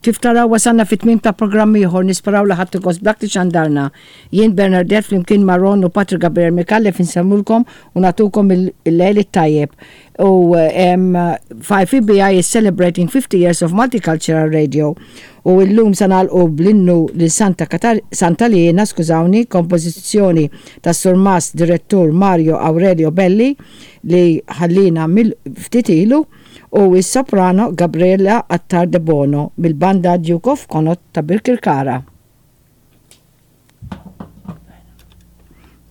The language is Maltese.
Kif taraw wasalna fit-tmiem ta' programm ieħor nisperaw li ħadtu gost b'dak li xandarna. Jien Bernardette flimkien ma' Ron u Patrick Gabriel Micallef insellmulkom u nagħtukom il-lejl it-tajjeb. U 5EBI is celebrating 50 years of multicultural radio. U illum sa nagħlqu bl-innu lil Santa Katar Santa Liena, skużawni, kompożizzjoni tas-Surmast Direttur Mario Aurelio Belli li ħallina mill ftit ilu u s-soprano Gabriella Attard Debono mill-Banda Duke of Connaught ta' Birkirkara.